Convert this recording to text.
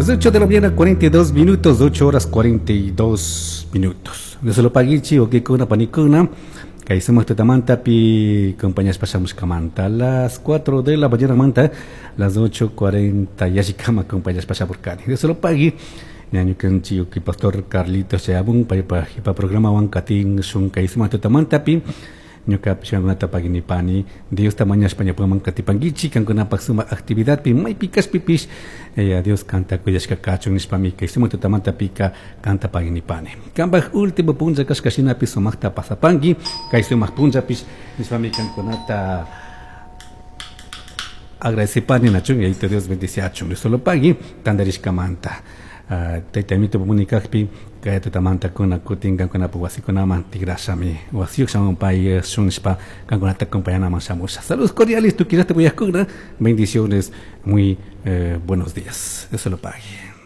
Las 8 de la mañana, 42 minutos, 8 horas 42 minutos. Dios lo paguichi, wawaykuna panikuna. Kay sumak tutamantapi compañías pashamushkamanta. Las 4 de la mañana manta, las 8:40 yallikama compañías pashamurkani. Dios lo pagui. Ñañukanchik pastor Carlitos chayamun paypa jipa programawan katishun kay sumak tutamantapi. Ñukapish kankunata pagui nipani Diosta mañashpa ñawpaman katipanguichik kankunapak sumak actividadpi maypi kashpipish eh, Dios kanta cuidashka kachun nishpami kay sumak tutamantapika kanta pagui nipani. Kanpak último punlla kashka shinapi sumakta pasapangui kay sumak punllapish nishpami kankunata agradecipani nachun Yayito Dios bendiciachun Dios lo pagui tandarishkamanta. Uh, tayta amito munikakpi kay tutamanta kuna kutin kankunapak wasikunaman tigrashami wasiyuk shamun pay shunishpa kankunata acompañanaman shamusha. Saludos cordiales, tukuyllata uyajkuna. Bendiciones, muy buenos días. Dios lo pague.